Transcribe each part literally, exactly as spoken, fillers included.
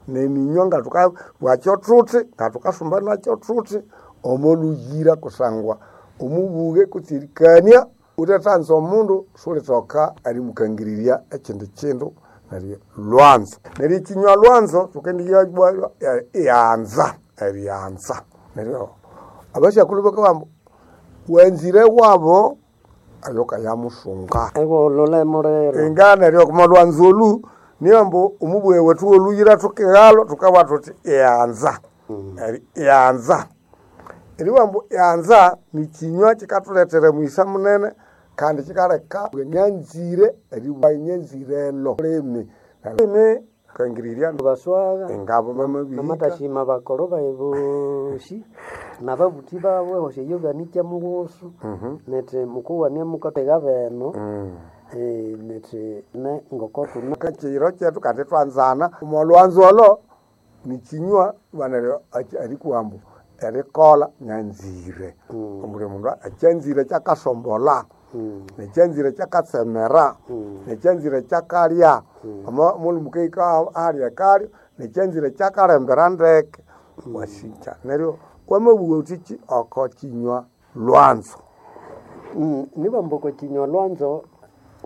Neminywa nga thukabwakyo thuthi nga thukasumba nakyo thuthi omo luyira kusangwa omubuge kutse erikania wuthethanza omundu siwulithoka erimukangirirya ekindi kindu neryo lwanzo. Neryo ekinywa lwanzo thukendiya iyanza eriyanza neryo abasyakulhu bakabugha ambu wanzire wabo ayokayamusunga. Ewolole muliro. Inga neryo okwa lwanzo olu niyo ambu omubughe wethu woluyira thukighalwa thukabugha thuthi iyanza eri iyanza. Eribugha ambu iyanza nikinywa kikathulethera omughisa munene kandi kikaleka nyanzire eribugha nyanzirelo limi limi kangirirya Baswagha ingabo bamabihika namatashima bakolo bayi bosi nababuthi babu ehosya iyo banikya mughusu nethi mukuwania mukatega beno eh, nethi ne ngoko tuna kiro kyethu kandi thwanzana omo lwanzo olo nikinywa neryo erikuwa ambu erikolha nyanzire obuli mundu ekyanzire kyakasombolha nekyanzire kyakatsemera nekyanzire kyakalya omo mulhume wukahika ahali ekalyo nekyanzire kyakalembera ndeke wasikya neryo wamabugha wuthiki oko kinywa lwanzo. Mm, nibamba oko kinywa lwanzo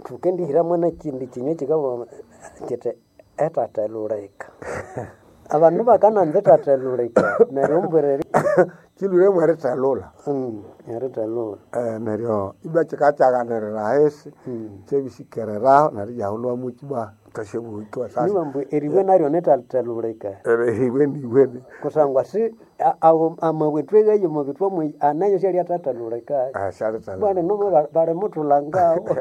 thukendihiramu nekindi kinywa kikabugha kiti etathelhulika. Abandu bakananza etathelhulika neryo ombwireri Kilhwire mwerithelhulha mm, erithelhulha Eh, neryo ibwa kikakyaghanirira ahisi kyebisikereraho neryo ibyahulhwamu ibwa thwasyabughikwa sasa nibamba eribwe naryo nitathelhulika eribwe niwene kusangwa si a- ago amabwe tweghaye omo bithwa mwe anayo syaliathathelhulika syalithelhulha bwana nomo balimuthulhangawo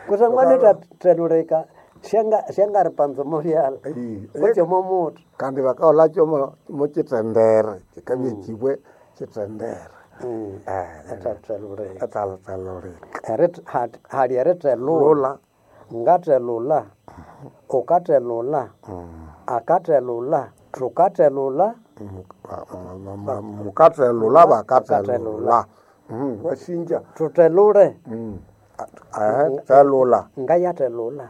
kusangwa nitathelhulika syanga syangaripanza omo byalha kutse omo muthi kandi bakaholakyo mo- mokyithendere kikabya ekibwe kyithendere Mm, Eh, etathelhulika etathelhulika Erit- hat- hali erithelhula lula ngathelhula ukathelhula akathelhula thukathelhula mukathelhula bakathelhula Mm, wasinja thuthelhule Mm. Ehe, thelhula ngayathelhula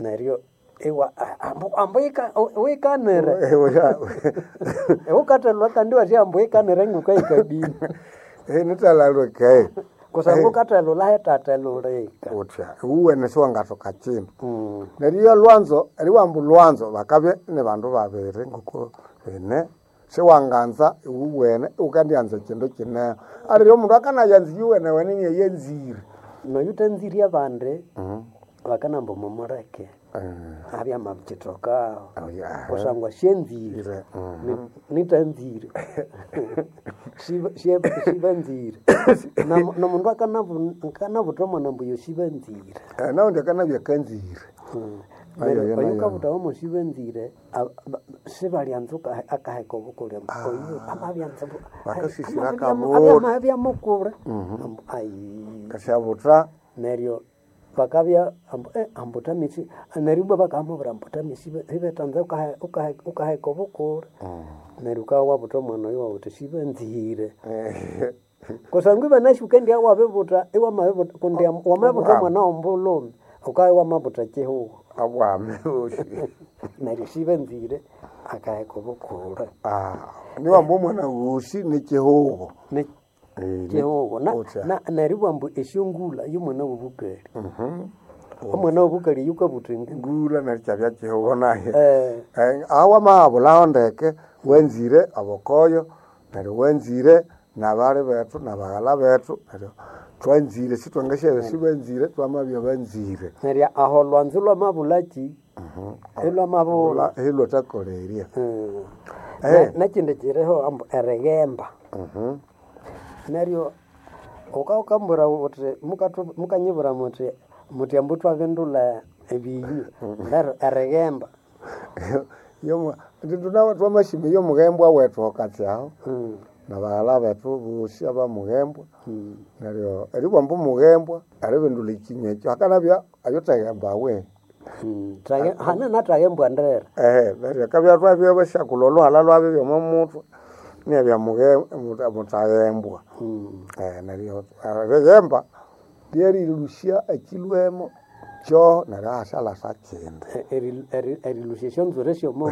neryo iwa ambu ambu ika- wikanire ukathelhula kandi iwasya ambu wikanire ngukahikadini nithelelwike kusangwa ukathelhula hetathelhulika utya uwene siwangathoka kindu Mm, neryo iyo lwanzo eriwamba lwanzo bakabya ni bandu babiri ngoko bene siwanganza iwuwene iwukandianza ekindu kineho aliryo omundu akanayanza iyuwene wene niyeyanzire noyu thanzire abandi bakanamba mumuleke abya mabikithokaho Oh, yeah. kusangwa syenzire Ire, mm. Ni- nitanzire Siba- sie- sibanzire Na- nomundu akanabu- akanabutha omwana ambu yo sibanzire Eh, naundi akanabya kanzire Ayo, Neryo ayo, oyu nayo. kabuthawo mo sibanzire ab- ba- sibalyanza ukahe- akaheka obukulya oyu amabyanza bu- Bakasisira amabya- akabutha. amabya mukule Ambu, ayi kasyabutha neryo bakabya ambu eh, ambu tamisi neryo ibwa bakamubwira ambu tamisi ibetanza ukahe- ukahe- ukaheka obukule neryo ukabya wabutha omwana oyo wawuthi sibanzire kusangwa ibanasi wukendiya wabibutha iwamabibutha kundi wamabutha omwana wombulhume ukabya wamabutha kihugho abwame bosi neryo sibanzire akaheka obukule Ah, niwamba omwana wosi nikihugo Ni- Eh, ni- kihugho Na- utya. na- neryo ibwa ambu esyongulha yomwana wobukali omwana wobukali yukabutha engulha ngula neryo kyabya kihugo naye Eh, Eh, aho wamahabulhaho ndeke wanzire abokoyo neryo wanzire nabali bethu nabaghala bethu neryo twanzire sithwangasyabya sibanzire twamabya banzire neryo aho olwanzu lwamabulaki ilwamabulha ilwathakolerya Mm. Eh. Ne- nekindi kiriho ambu erighemba neryo ukawukambwira wuthi mukathu- mukanyibwira muthi muthi ambu twabindulha ebinywa neryo erighemba twamasima yomughembwa wethu okatsi aho Mm, nabaghala bethu bosi abamughembwa mm. neryo eribwamba omughembwa eribindulha ekinywa ekyo hakanabya ayotheghembawe Mm, thage- hane nathaghembwa ndere Ehe, neryo akabya twabya basyakulha olhuhalha lwabyo byomo muthwe niyabya mughe- muta- mutaghembwa Mm, Eh, neryo erighemba lyerilusya ekilwemo Ekyo neryo hasyalasa kindi. Erilũsya esyonzwiri syomo.